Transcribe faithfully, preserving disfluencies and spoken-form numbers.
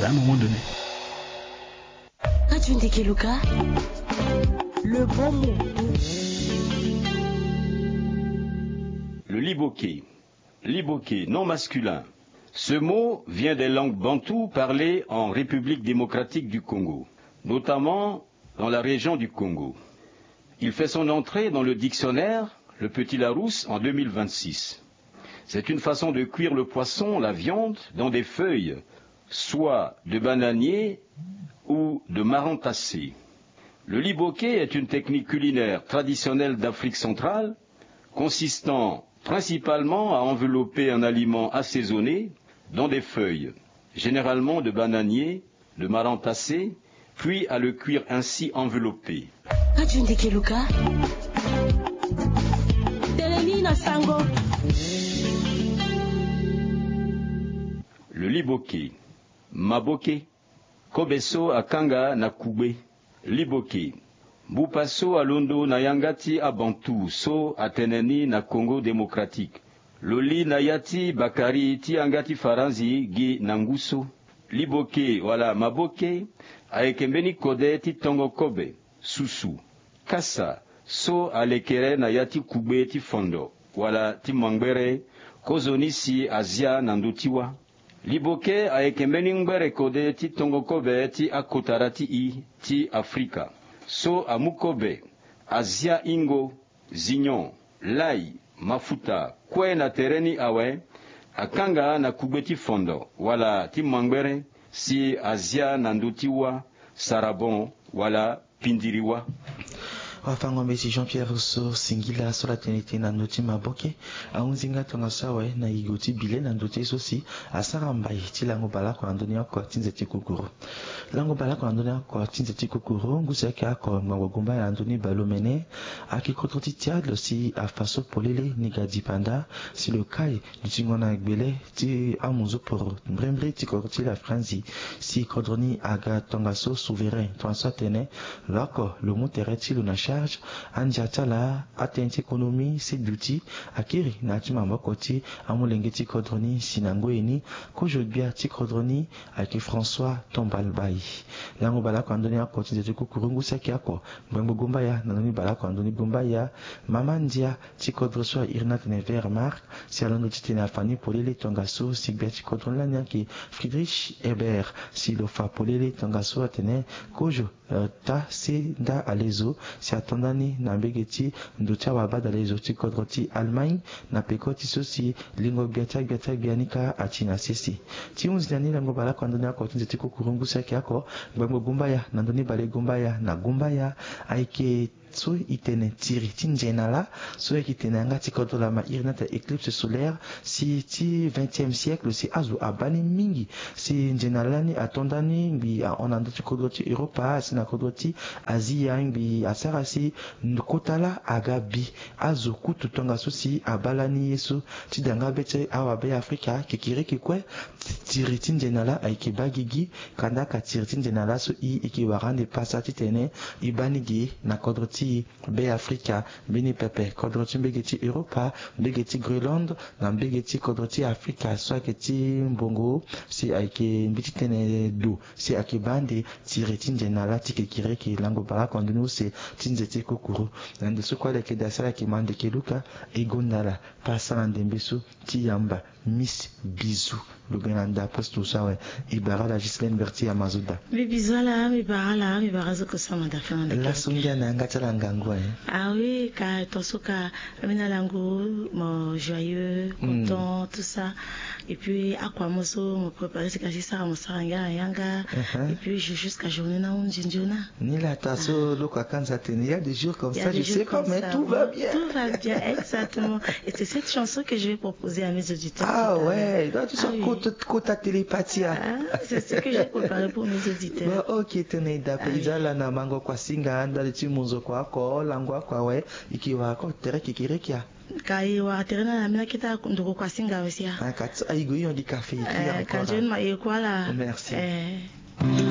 À un moment donné. Radio Ndeke Luka, le bon mot. Le liboke. Liboke, nom masculin. Ce mot vient des langues bantoues parlées en République démocratique du Congo, notamment dans la région du Congo. Il fait son entrée dans le dictionnaire Le Petit Larousse en deux mille vingt-six. C'est une façon de cuire le poisson, la viande, dans des feuilles, soit de bananier ou de marantacé. Le liboke est une technique culinaire traditionnelle d'Afrique centrale, consistant principalement à envelopper un aliment assaisonné dans des feuilles, généralement de bananier, de marantacé, puis à le cuire ainsi enveloppé. Radio Ndeke Luka. Telemi na sango. Le liboke. Maboke. Kobe so akanga na kugbe. Liboke. Mbupa so alondo na yanga ti Abantu so atene ni na Congo Démocratique. Lo li na ya ti bakari ti yanga ti Faranzi gi na ngu so. Liboke wala maboke ayeke mbeni kode ti tongo kobe, susu, kasa, so alekere na ya ti kugbe ti fondo wala ti mangbere, kozoni si azia na ndö ti wâ. Liboke ayeke mbeni ngbere kode ti tongo kobe ti akotara ti i ti Afrika. So amu kobe, azia ingo, zignon, lay, mafuta, kue na tere ni awe, akanga na kugbe ti fondo wala ti mangbere, si azia na ndö ti wâ, sarabon wala pindiri wâ. Wafango-mbeti Jean-Pierre so singila so la tene ti na ndö ti maboke, ahunzi nga tongaso awe na yigo ti bile na ndö ti ye so si asara mbai ti lango baleoko na ndö ni oko ti nze ti kukuru. Lango baleoko na ndö ni oko ti nze ti kukuru, ngu si ayeke oko ngbangbo gumbaya na ndö ni baleomene, ayeke kodro ti Tchad lo si afa so polele ni ga dipanda, si lo kai dutingo na gbele ti amunzu poro mbrimbri ti kodro ti la Franzi, si kodro ni aga tongaso souverain, tongaso atene lo oko lo mu tere ti lo na charge, andia ti ala, atënë ti économie, si duti akiri na ya ti maboko ti amolenge ti kodro ni, si na ngoi ni kozo gbia ti kodro ni ayeke François Tombal Bayi. Lango baleoko na ndö ni oko ti nze ti kukuru, ngu si ayeke oko ngbangbo gumbaya na ndö ni baleoko na ndö ni gumbaya, mama ndia ti kodro so airi ni atene Wehrmacht, si alondo titene afa ni polele tongaso si gbia ti kodro ni lani ayeke Friedrich Ebert, si lo fa polele tongaso atene kozo, eh, ota se nda alezo, si ato nda ni na mbege ti ndo ti awabadalezo ti kodro ti Allemagne, na peko ti so si lingo gbia ti agbia ti agbia ni kâ ati na sese. Ti hunzi na ni lango baleoko na ndö ni oko ti nze ti kukuru, ngu si ayeke oko ngbangbo gumbaya na ndö ni balegumbaya na gumbaya, ayeke so e tene tiri ti nze na lâ, so e yeke tene yanga ti kodro lama iri ni atene éclipse solaire, si ti vingtième siècle si azo abaa ni mingi, si nze na lâ ni ato nda ni ngbii ahon na ndö ti kodro ti Europa, asi na kodro ti Azia ngbii asara si kota lâ aga bi. Azo kutu tongaso si abaa lani ye so ti da nga be ti awabe Afrika kekereke kue, tiri ti nze na lâ ayeke baa gigi. Kandaka tiri ti nze na lâ so i, i yeke wara ande pasa titene i baa ni ge na kodro ti Be Afrika, mbeni pepe kodro ti mbege ti Europa, mbege ti Groenland, na mbege ti kodro ti Afrika so ayeke ti mbongo, si ayeke mbi ti tene do, si ayeke baa ande tiri ti nze na lâ ti kekereke. Lango baleoko na ndö ni use ti nze ti kukuru. Na ndo so kue ala yeke daa si ala yeke ma ndeke luka, e gonda ala pasa na ndembe so ti yamba Miss Bizou. Lo ga na nda poste so awe. E bara ala Ghislaine Berti ya Mazoda. Mbi bizou ala, mbi bara ala, mbi bara zo kosama da fana ndeke. Laso ngia na yanga ti ala ngangu aye. Ah oui, ka tonso ka, ambeni ala ngu mo joyeux, content, tout ça. Et puis akua mo so mo préparer si ka si sara mo sara ngia na yanga. Et puis je jusqu'à journée na hunzi nzoni. Ni la ta so lo ka kanza tene, il y a des jours comme ça, je sais pas, mais tout va bien. Tout va bien, exactement. Et c'est cette chanson que je vais proposer à mes auditeurs. Ah ouais, donc tu sens kota télépathie. Ah, c'est ce que j'ai préparé pour mes auditeurs. Bon, ok, tene da pe i za ala na mango kua singa ndali ti munzu kua oko lango kua we, i ke wara ko tere kekereke a. Ka e wara tere na la mina kita ndoko kua singa we si a. Ah, ka ti ayigo i yongi kafe i ki encore. Ka nzoni ma e kua la. Merci.